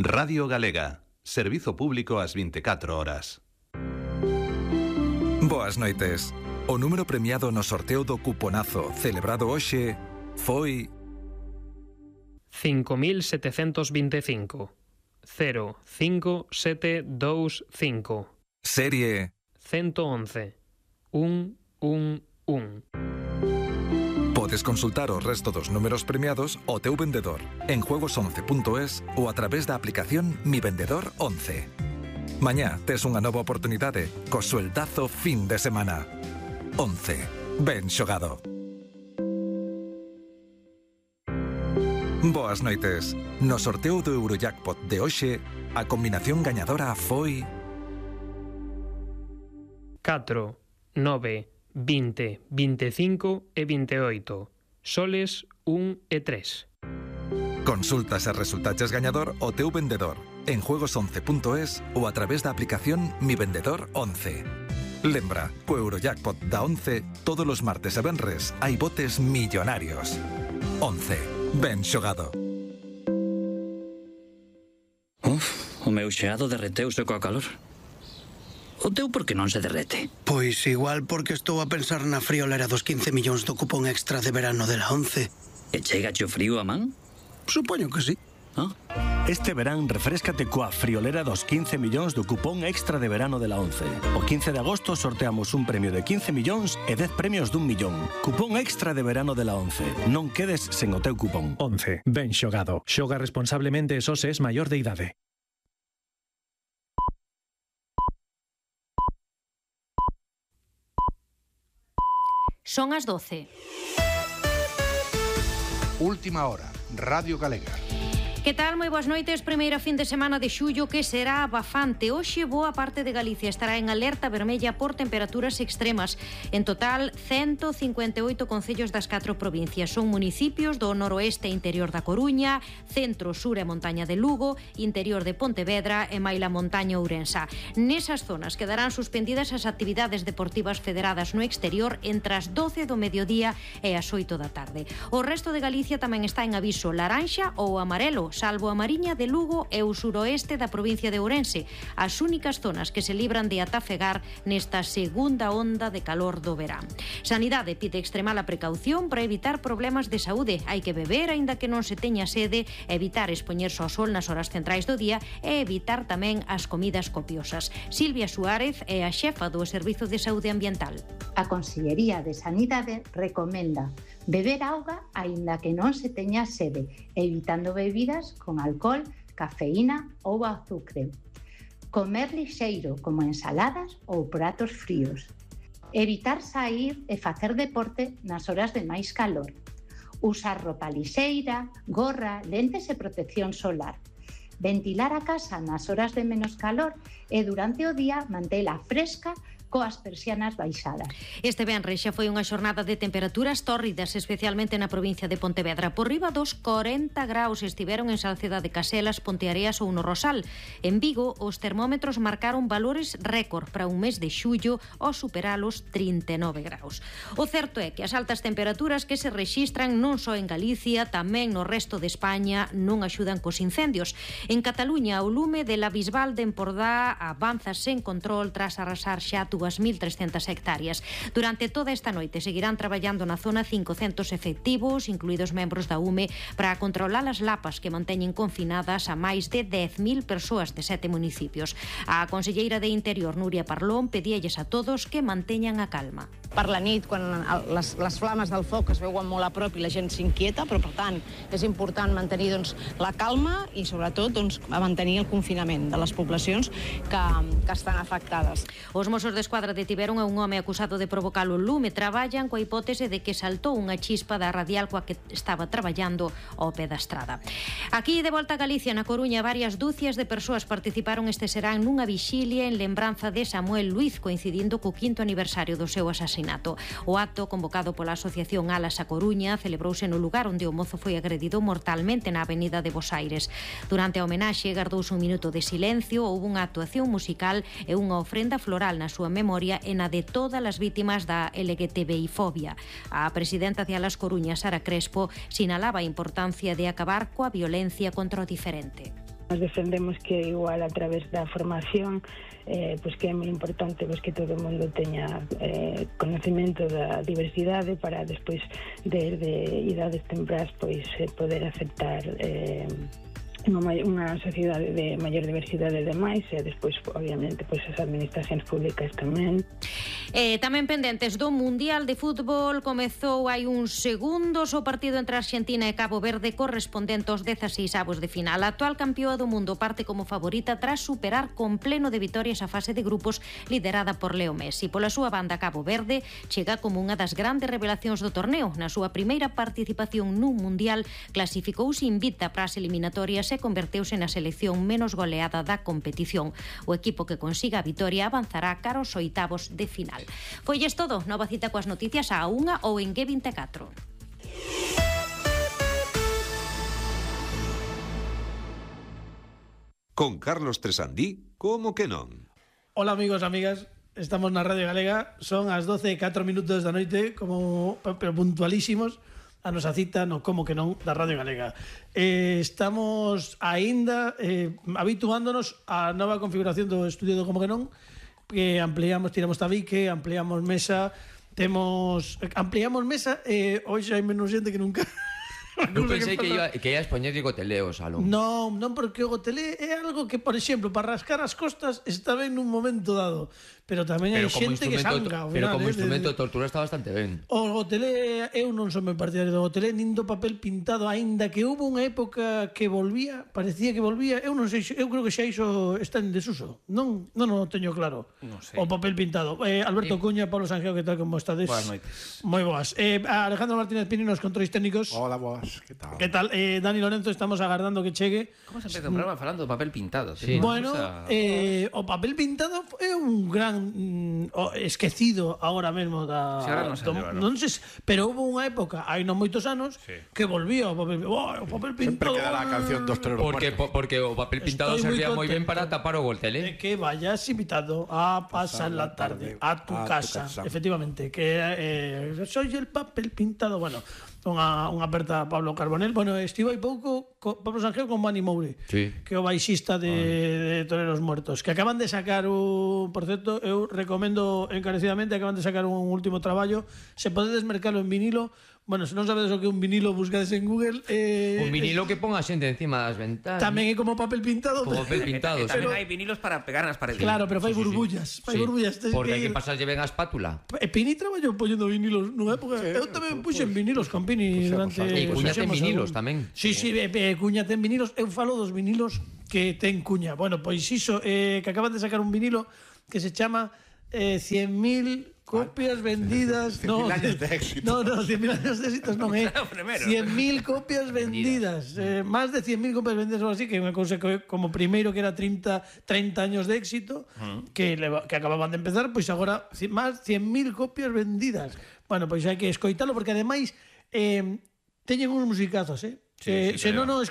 Radio Galega. Servizo público ás 24 horas. Boas noites. O número premiado no sorteo do cuponazo celebrado hoxe foi 5.725 05725. Serie 111 111. Podes consultar o resto dos números premiados ao teu vendedor en juegos11.es ou a través da aplicación Mi Vendedor 11. Mañá tes unha nova oportunidade co sueldazo fin de semana. 11. Ben xogado. Boas noites. No sorteo do Eurojackpot de hoxe, a combinación gañadora foi 4, 9, 20, 25 e 28. Soles 1 e 3. Consultas e resultaches gañador o teu vendedor en juegos11.es ou a través da aplicación Mi Vendedor 11. Lembra, co Eurojackpot da 11, todos os martes e venres hai botes millonarios. 11. Ben xogado. O meu xeado derreteuse coa calor. O teu por que non se derrete? Pois igual porque estou a pensar na friolera dos 15 millóns do cupón extra de verano de la 11. E chegache o frío a man? Supoño que sí. Este verán refréscate coa friolera dos 15 millóns do cupón extra de verano de la 11. O 15 de agosto sorteamos un premio de 15 millóns e 10 premios d'1 millón. Cupón extra de verano de la 11. Non quedes sen o teu cupón. 11. Ben xogado. Xoga responsablemente e só se es maior de idade. Son as 12. Última hora, Radio Galega. Que tal? Moi boas noites. Primeira fin de semana de xullo que será abafante. Hoxe boa parte de Galicia estará en alerta vermella por temperaturas extremas. En total, 158 concellos das 4 provincias. Son municipios do noroeste e interior da Coruña, centro, sur e montaña de Lugo, interior de Pontevedra e maila montaña Ourensa. Nesas zonas quedarán suspendidas as actividades deportivas federadas no exterior entre as 12 do mediodía e as 8 da tarde. O resto de Galicia tamén está en aviso laranxa ou amarelo, salvo a Mariña de Lugo e o suroeste da provincia de Ourense, as únicas zonas que se libran de atafegar nesta segunda onda de calor do verán. Sanidade pide extremar a precaución para evitar problemas de saúde. Hai que beber aínda que non se teña sede, evitar expoñerse ao sol nas horas centrais do día e evitar tamén as comidas copiosas. Silvia Suárez é a xefa do Servizo de Saúde Ambiental. A Consellería de Sanidade recomenda beber auga aínda que non se teña sede, evitando bebidas con alcohol, cafeína ou azucre. Comer lixeiro, como ensaladas ou pratos fríos. Evitar sair e facer deporte nas horas de máis calor. Usar roupa lixeira, gorra, lentes e protección solar. Ventilar a casa nas horas de menos calor e durante o día mantela fresca coas persianas baixadas. Este venres xa foi unha xornada de temperaturas tórridas, especialmente na provincia de Pontevedra. Por riba dos 40 graus estiveron en Salceda de Caselas, Ponteareas ou no Rosal. En Vigo, os termómetros marcaron valores récord para un mes de xullo ao superar os 39 graus. O certo é que as altas temperaturas que se rexistran non só en Galicia, tamén no resto de España non axudan cos incendios. En Cataluña, o lume de la Bisbal de Empordá avanza sen control tras arrasar xa 2.300 hectáreas. Durante toda esta noite seguirán traballando na zona 500 efectivos, incluídos membros da UME, para controlar as lapas que manteñen confinadas a máis de 10.000 persoas de 7 municipios. A conselleira de Interior, Núria Parlón, pedíalles a todos que manteñan a calma. Per la nit, quan les flames del foc es veuen molt a prop i la gent s'inquieta, però per tant és important mantenir la calma i sobretot mantenir el confinament de les poblacions que estan afectades. Os Mossos d'Esquadra detiveron a un home acusado de provocar o lume. Traballan coa hipótese de que saltou unha chispa da radial coa que estaba traballando ao pé da estrada. Aquí, de volta a Galicia, na Coruña, varias dúcias de persoas participaron este serán nunha vixilia en lembranza de Samuel Luiz, coincidindo co 5º aniversario do seu asasinato. O acto, convocado pola Asociación Alas a Coruña, celebrouse no lugar onde o mozo foi agredido mortalmente na avenida de Bos Aires. Durante a homenaxe, gardouse un minuto de silencio, houve unha actuación musical e unha ofrenda floral na súa memoria e na de todas as vítimas da LGTBI-fobia. A presidenta de Alas Coruña, Sara Crespo, sinalaba a importancia de acabar coa violencia contra o diferente. Nos defendemos que igual a través da formación pois que é moi importante pois que todo o mundo teña conocemento da diversidade para despois desde idades temprás pois poder aceptar unha sociedade de maior diversidade de máis e despois, obviamente, pois as administracións públicas tamén. Tamén pendentes do Mundial de Fútbol, comezou hai uns segundos o partido entre Argentina e Cabo Verde correspondente aos 16avos de final. A actual campeoa do mundo parte como favorita tras superar con pleno de vitorias a fase de grupos liderada por Leo Messi. Pola súa banda, Cabo Verde chega como unha das grandes revelacións do torneo. Na súa primeira participación nun Mundial clasificouse invicta para as eliminatorias e converteuse na selección menos goleada da competición. O equipo que consiga a vitoria avanzará cara aos oitavos de final. Foilles todo, nova cita coas noticias á 1 ou en G24. Con Carlos Tresandí, como que non? Hola amigos, amigas, estamos na Radio Galega, son as 12:04 da noite, pero puntualísimos a nosa cita no Como que non da Radio Galega. Estamos aínda habituándonos á nova configuración do estudio do Como que non, que ampliamos, tiramos tabique, ampliamos mesa, ampliamos mesa e hoxe hai menos xente que nunca. Non pensei que ias poñer gotelé o salón. Non, porque o gotelé é algo que, por exemplo, para rascar as costas está ben nun momento dado, pero tamén hai xente que sanga. Pero como instrumento de tortura está bastante ben. O gotelé, eu non son moi partidario do gotelé, nin do papel pintado, aínda que hubo unha época que volvía, parecía que volvía, eu non sei, eu creo que xa iso está en desuso. Non o teño claro. Non sei. O papel pintado. Alberto Cuña, Pablo Sanjeo, que tal, como estades? Boas noites. Moi boas. Alejandro Martínez Pini, nos controis técnicos. Hola, boas. Que tal? Dani Lorenzo, estamos agardando que chegue. Como se empeza o programa falando do papel pintado? Sí. Bueno, o papel pintado é un gran esquecido agora mesmo da... Non sei, pero houve unha época, hai non moitos anos, que volvía o papel pintado. Sempre queda a canción dos Toreros Muertos. Porque o papel pintado servía moi ben para tapar o gotelé. Que vayas invitado a pasar la tarde a tu casa. Efectivamente, que soy el papel pintado. Bueno, unha aperta a Pablo Carbonell. Bueno, estivo hai pouco Pablo Sanjeo con Mani Moure, que é o baixista de Toreros Muertos, que acaban de sacar por certo, eu recomendo encarecidamente, acaban de sacar un último traballo. Se podedes mercalo en vinilo. Bueno, se non sabedes o que é un vinilo, buscades en Google. Un vinilo que ponga xente encima das ventanas. Tamén é como papel pintado. Como papel pintado. Tamén hai vinilos para pegar nas paredes. Claro, pero fai burbullas. Fai burbullas. Porque hai que pasarlle ben a espátula. Pini traballou poñendo vinilos nunha época. Eu tamén puxen vinilos con Pini durante... E Cuña ten vinilos tamén. Sí, Cuña ten vinilos. Eu falo dos vinilos que ten Cuña. Bueno, pois iso, que acaban de sacar un vinilo que se chama 100.000 copias vendidas. 100.000 años de éxito. No, 100.000 años de éxito non é. 100.000 copias vendidas. Más de 100.000 copias vendidas ou así, que é unha cousa que como primeiro que era 30 años de éxito, que acababan de empezar, pois agora máis 100.000 copias vendidas. Bueno, pois hai que escoitalo, porque ademais teñen uns musicazos, se non nos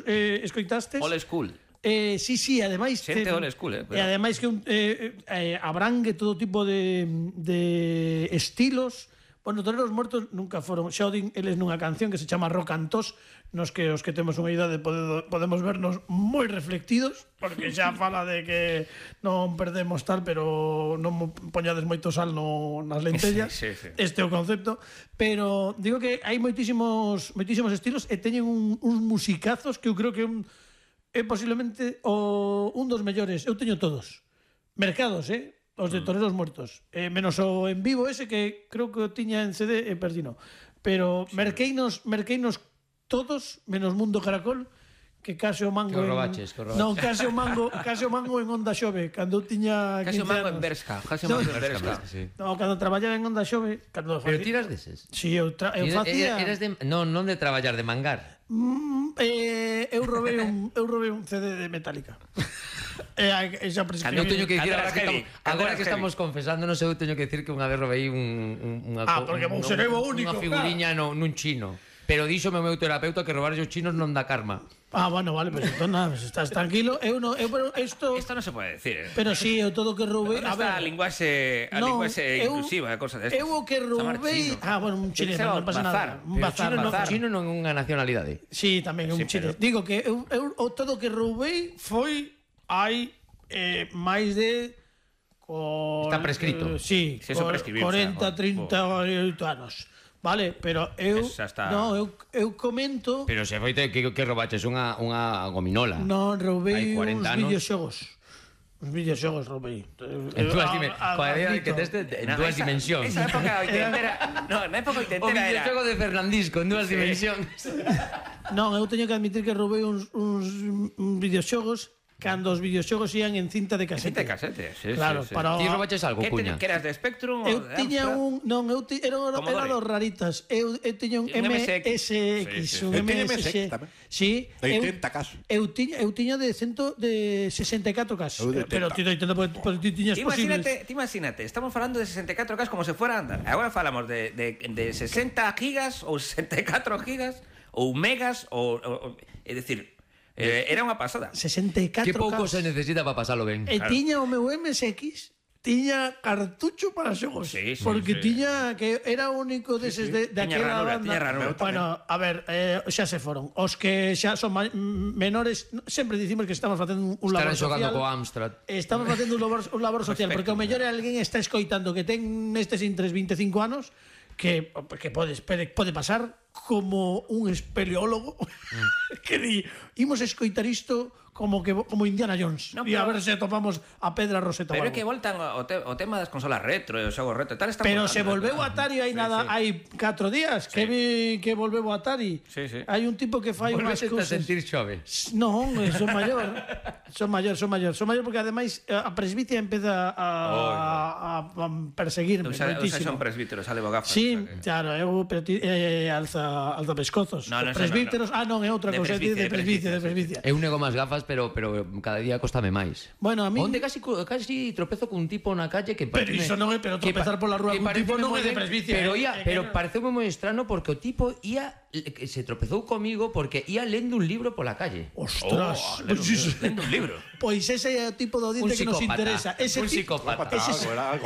escoitastes... Old school. Sí, ademais xente old school, e ademais que abrangue todo tipo de estilos. Bueno, Toreros Muertos nunca foron, xa o din eles nunha canción que se chama Rock and Tos, nos que os que temos unha idade podemos vernos moi reflectidos, porque xa fala de que non perdemos tal, pero non poñades moito sal nas lentellas. Sí. Este é o concepto, pero digo que hai moitísimos estilos e teñen uns musicazos que eu creo que é posiblemente un dos mellores. Eu teño todos mercados, os de Toreros Muertos, menos o en vivo ese que creo que o tiña en CD e perdino, pero merqueinos todos menos Mundo Caracol, que case o mango non, case o mango en Onda Xove cando eu tiña 15 anos. Case o mango en Berska. No, cando traballaba en Onda Xove. Pero tiras deses? Si, eu facía... Non de traballar, de mangar. Eu robei un CD de Metallica. Eu teño que dicir, agora que estamos confesándonos, eu teño que dicir que unha vez robei unha figuriña nun chino. Pero díxome o meu terapeuta que robar os chinos non dá karma. Bueno, vale, pues entón nada, estás tranquilo. Isto non se pode decir. Pero si, eu todo que roubei... A ver, a linguaxe inclusiva, cosa desta. Eu o que roubei... Bueno, un chinés, non pasa nada. Un chino non é unha nacionalidade. Si, tamén, un chinés. Digo que eu todo que roubei foi hai máis de... Está prescrito. Sí, 40, 38 anos. Vale, pero eu eu comento... Pero se foi que roubaches unha gominola. Non, roubei uns videoxogos. Os videoxogos roubei. En dúas dimensións. Esa época 80 era... No, na época 80 era... O videoxogo de Fernandisco en dúas dimensións. Non, eu teño que admitir que roubei uns videoxogos cando os videoxogos ian en cinta de casete. Cinta de casete, sí. Claro, para... Ti roubaches algo, Cuña? Que eras de Spectrum? Eu tiña un... Non, era dos raritas. Eu tiña un MSX. Un MSX tamén. Sí. 80 casos. Eu tiña de 64 casos. Pero ti tiñas posibles. Ti imagínate, estamos falando de 64 casos como se fuera a andar. Agora falamos de 60 gigas ou 64 gigas ou megas ou... É dicir... Era unha pasada. 64 que pouco se necesita para pasalo ben. E tiña o meu MSX, tiña cartucho para xogos. Porque tiña que era o único deses daquela banda. Bueno, a ver, xa se foron. Os que xa son menores, sempre dicimos que estamos facendo un labor social. Estarán xogando co Amstrad. Estamos facendo un labor social, porque o mellor alguén está escoitando que ten nestes intres 25 anos que pode pasar como un espeleólogo que di, imos escoitar isto como Indiana Jones e a ver se topamos a Pedra Rosetta. Pero é que voltan o tema das consolas retro e os xogos retro e tal. Pero se volveu Atari hai 4 días que vi que volveu Atari. Hai un tipo que fai unhas cousas. Volveste a sentir xove? Non, son maior. Son maior porque ademais a presbicia empeza a perseguirme moitísimo. Son presbíteros, sale gafas. Sí, claro, eu alza pescozos. Presbíteros, non, é outra cousa, de presbicia. Eu nego máis gafas, pero cada día costame máis. Bueno, a mí... Onde casi tropezo cun tipo na calle que... Pero iso non é, pero tropezar pola rúa cun tipo non é de presbicia. Pero pareceume moi estrano porque o tipo se tropezou comigo porque ia lendo un libro pola calle. Ostras, lendo un libro. Pois ese é o tipo de audiencia que nos interesa. Un psicópata.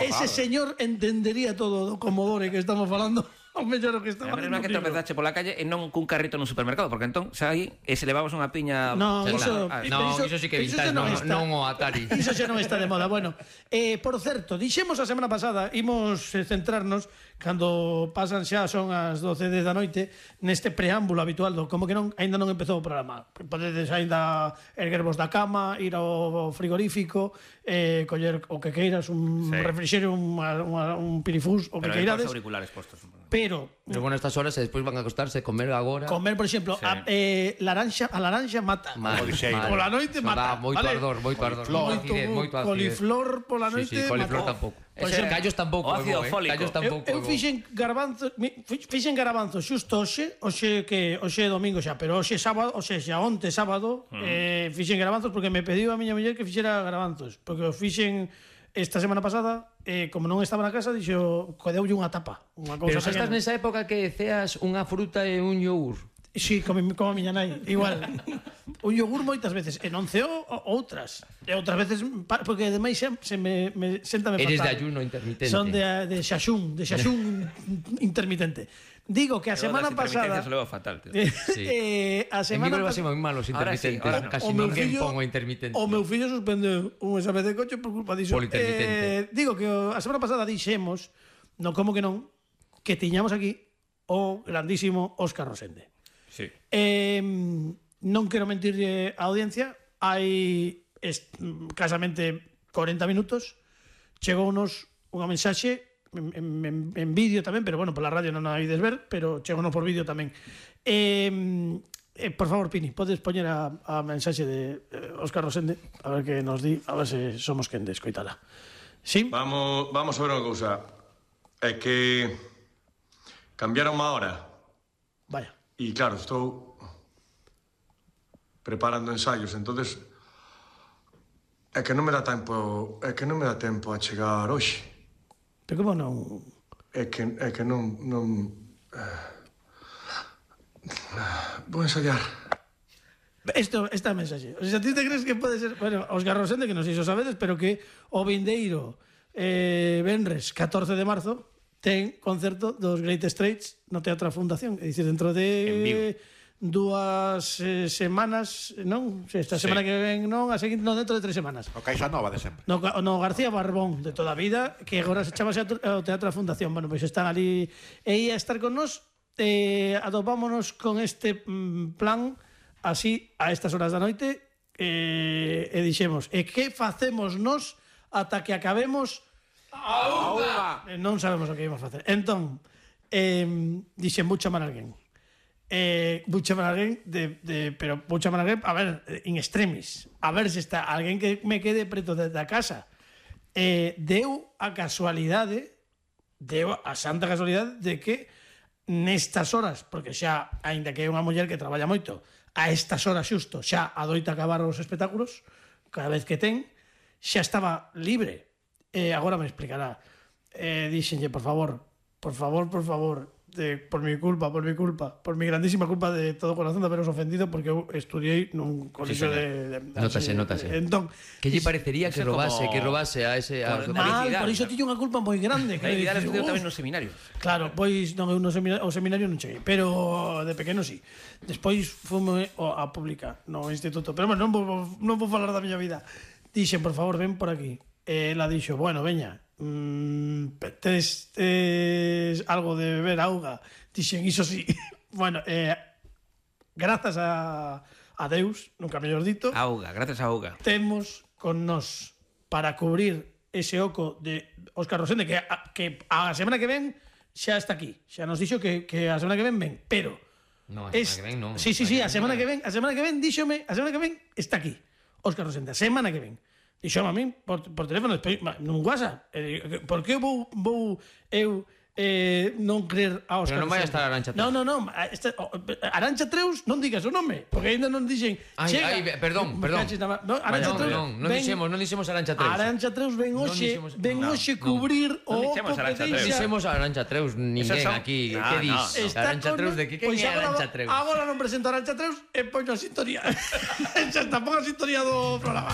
Ese señor entendería todo o Commodore que estamos falando. O mellor o que estaba facendo. Que tropezache pola calle e non cun carrito nun supermercado, porque entón xa aí se levamos unha piña... Iso sí que vintage, non o Atari. Iso xa non está de moda. Bueno, por certo, dixemos a semana pasada, imos centrarnos cando pasan xa son as 12 da noite neste preámbulo habitual do como que non aínda non empezou o programa. Podedes aínda erguervos da cama, ir ao frigorífico, coller o que queiras, un refrixerio, un pirifús, o que queirades. Pero auriculares postos. Pero bueno, estas horas despois van a acostarse, comer agora. Comer, por exemplo, a laranxa mata. Pola noite mata. Moito ardor. Coliflor pola noite. Sí, coliflor tampouco. Callos tampouco. Eu fixen garabanzos xusto hoxe é domingo xa, pero hoxe sábado, onte sábado, fixen garabanzos porque me pediu a miña muller que fixera garabanzos, porque os fixen esta semana pasada, como non estaba na casa, dixo, deulle unha tapa. Pero xa estás nesa época que ceas unha fruta e un yogur. Sí, como a miña nai, igual. Un yogur moitas veces, e non ceo outras. E outras veces, porque ademais se me séntame fatal. Eres de ayuno intermitente. Son de xaxún intermitente. Digo que a semana pasada... Se leva fatal, tío. A semana pasada... En mi moi malos intermitentes. Casi ninguén pongo intermitente. O meu fillo suspendeu un exame de coche por culpa diso. Digo que a semana pasada dixemos, non como que non, que tiñamos aquí o grandísimo Óscar Rosende. Sí. Non quero mentirlle á audiencia, hai casamente 40 minutos chegounos unha mensaxe en vídeo tamén, pero bueno, pola radio non a ides ver, pero chegounos por vídeo tamén. Por favor, Pini, podes poñer a mensaxe de Óscar Rosende, a ver que nos di, a ver se somos quen de escoitala. Sí? Vamos a ver unha cousa. É que cambiaron unha hora. Vaya. E claro, estou preparando ensaios, entonces é que non me dá tempo a chegar hoxe. Pero como non? É que non vou ensayar. Esta mensaxe. O sea, ti te crees que pode ser... Bueno, Óscar Rosende, que non sei se o sabedes, pero que o vindeiro venres 14 de marzo ten concerto dos Great Straits no Teatro Fundación, é dicir, dentro de 2 semanas, non? Esta semana que ven, non, a seguinte, non, dentro de 3 semanas. O Caixa Nova de sempre. No García Barbón, de toda a vida, que agora se chamase ao Teatro da Fundación. Bueno, pois están ali e ia estar con nós. Atopámonos con este plan así a estas horas da noite e dixemos, e que facemos nós ata que acabemos a unha? Non sabemos o que íbamos a facer. Entón, dixen, vou chamar a alguén. Vou chamar a alguén pero vou chamar a alguén, a ver, in extremis, a ver se está alguén que me quede preto da casa. Deu a santa casualidade de que nestas horas, porque xa, aínda que é unha muller que traballa moito, a estas horas xusto xa adoita acabar os espectáculos, cada vez que ten, xa estaba libre. Agora me explicará. Dixenlle, por favor, por mi culpa, por mi grandísima culpa de todo corazón de haberos ofendido, porque eu estudiei nun colegio de Notase. Entón, que lle parecería que robase a ese... Por iso tiño unha culpa moi grande. Felicidade estudiou tamén no seminario. Claro, pois non, eu no seminario non cheguei, pero de pequeno sí. Despois fume a pública no instituto, pero bueno, non vou falar da miña vida. Dixen, por favor, ven por aquí. Ela dixo, bueno, veña, tes algo de beber auga? Dixen, iso sí. Bueno, grazas a Deus, nunca mellor dito, gracias a auga, temos con nós para cubrir ese oco de Óscar Rosende, que a semana que ven xa está aquí, xa nos dixo que a semana que ven, pero no, a semana que ven non. Sí, a semana que ven díxome, a semana que ven está aquí Óscar Rosende, a semana que ven. Dixome a min por teléfono, nun WhatsApp. Por que vou eu non creer a Óscar? Pero non vai a estar Arantxa Treus. Non. Arantxa Treus non digas o nome, porque ainda non dixen. Perdón. Non dixemos Arantxa Treus. Arantxa Treus ven hoxe cubrir o oco que deixa. Non dixemos Arantxa Treus, ninguén aquí. Que dis? Arantxa Treus, de que quen é Arantxa Treus? Agora non presento a Arantxa Treus e poño a sintonía. Xa está, pon a sintonía do programa.